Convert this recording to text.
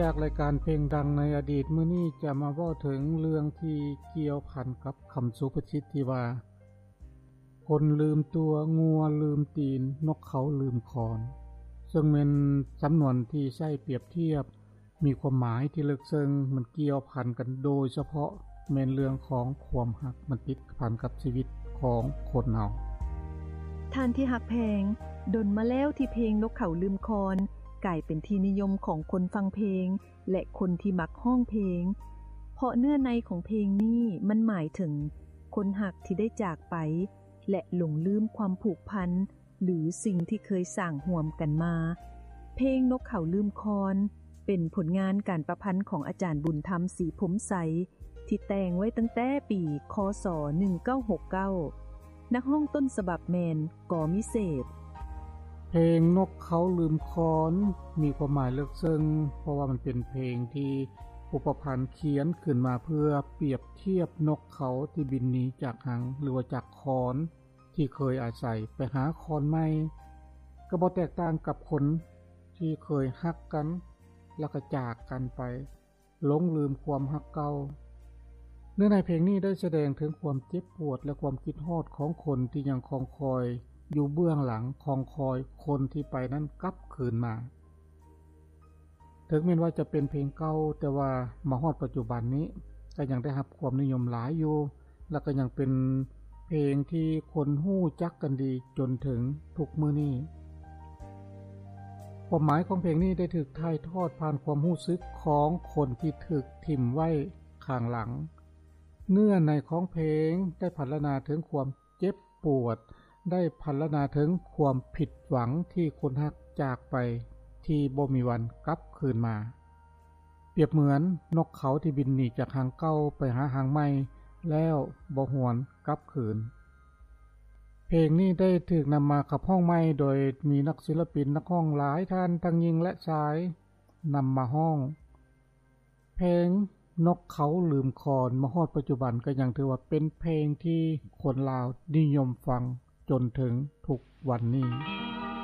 ຈາກລາຍການເພງດັງໃນອະດີດ, ມື້ນີ້ຈະມາເວົ້າເຖິງເລື່ອງທີ່ກ່ຽວພັນກັບຄຳສຸພາສິດທີ່ວ່າ ຄົນລືມຕົວ, ງົວລືມຕີນ, ນົກເຂົາລືມຄອນ, ເຊິ່ງແມ່ນສຳນວນທີ່ໃຊ້ປຽບທຽບ ມີຄວາມໝາຍທີ່ເລິກເຊິ່ງ, ມັນກ່ຽວພັນກັນໂດຍສະເພາະແມ່ນເລື່ອງຂອງຄວາມຮັກ, ມັນຕິດພັນກັບຊີວິດຂອງຄົນເຮົາ. ທ່ານທີ່ຮັກແພງ, ດົນມາແລ້ວທີ່ເພງນົກເຂົາລືມຄອນ ກາຍເປັນທີ່ນິຍົມຂອງຄົນຟັງເພງ ແລະ ຄົນທີ່ມັກຮ້ອງເພງ, ເພາະເນື້ອໃນຂອງເພງນີ້ມັນໝາຍເຖິງຄົນຮັກທີ່ໄດ້ຈາກໄປ ແລະ ຫຼົງລືມຄວາມຜູກພັນ ຫຼື ສິ່ງທີ່ເຄີຍສ້າງຮ່ວມກັນມາ. ເພງນົກເຂົາລືມຄອນ ເປັນຜົນງານການປະພັນຂອງອາຈານບຸນທຳ ສີພົມໄຊ ທີ່ແຕ່ງໄວ້ຕັ້ງແຕ່ປີ ຄ.ສ. ໜຶ່ງເກົ້າຫົກເກົ້າ. ນັກຮ້ອງຕົ້ນສະບັບແມ່ນ ກ.ມິເສດ. ເພງນົກເຂົາລືມຄອນ ມີຄວາມໝາຍເລິກເຊິ່ງ ເພາະວ່າມັນເປັນເພງທີ່ຜູ້ປະພັນຂຽນຂຶ້ນມາເພື່ອປຽບທຽບນົກເຂົາທີ່ບິນໜີຈາກຮັງ ຫຼືວ່າຈາກຄອນ ທີ່ເຄີຍອາໄສໄປຫາຄອນໃໝ່, ກໍບໍ່ແຕກຕ່າງກັບຄົນທີ່ເຄີຍຮັກກັນ ແລ້ວກໍຈາກກັນໄປ, ຫຼົງລືມຄວາມຮັກເກົ່າ. ເນື້ອໃນເພງນີ້ໄດ້ສະແດງເຖິງຄວາມເຈັບປວດ ແລະ ຄວາມຄິດຮອດຂອງຄົນທີ່ຍັງຄອງຄອຍຢູ່ເບື້ອງຫຼັງ, ຄອງຄອຍຄົນທີ່ໄປນັ້ນກັບຄືນມາ. ເຖິງແມ່ນວ່າຈະເປັນເພງເກົ່າ, ແຕ່ວ່າມາຮອດປັດຈຸບັນນີ້ກໍຍັງໄດ້ຮັບຄວາມນິຍົມຫຼາຍຢູ່, ແລະ ກໍຍັງເປັນເພງທີ່ຄົນຮູ້ຈັກກັນດີຈົນເຖິງທຸກມື້ນີ້. ຄວາມໝາຍຂອງເພງນີ້ໄດ້ຖືກຖ່າຍທອດຜ່ານຄວາມຮູ້ສຶກຂອງຄົນທີ່ຖືກຖິ້ມໄວ້ຂ້າງຫຼັງ. ເນື້ອໃນຂອງເພງໄດ້ພັນລະນາເຖິງຄວາມ ເຈັບປວດ, ໄດ້ພັນລະນາເຖິງຄວາມຜິດຫວັງທີ່ຄົນຮັກຈາກໄປທີ່ບໍ່ມີວັນກັບຄືນມາ. ປຽບເໝືອນນົກເຂົາທີ່ບິນໜີຈາກຮັງເກົ່າໄປຫາຮັງໃໝ່ແລ້ວບໍ່ຫວນກັບຄືນ. ເພງນີ້ໄດ້ຖືກນຳມາຂັບຮ້ອງໃໝ່ໂດຍມີນັກສິລະປິນນັກຮ້ອງຫຼາຍທ່ານ ທັງຍິງ ແລະ ຊາຍ ນຳມາຮ້ອງ. ເພງນົກເຂົາລືມຄອນ ມາຮອດປັດຈຸບັນກໍຍັງຖືວ່າເປັນເພງທີ່ຄົນລາວນິຍົມຟັງຈົນເຖິງທຸກວັນນີ້.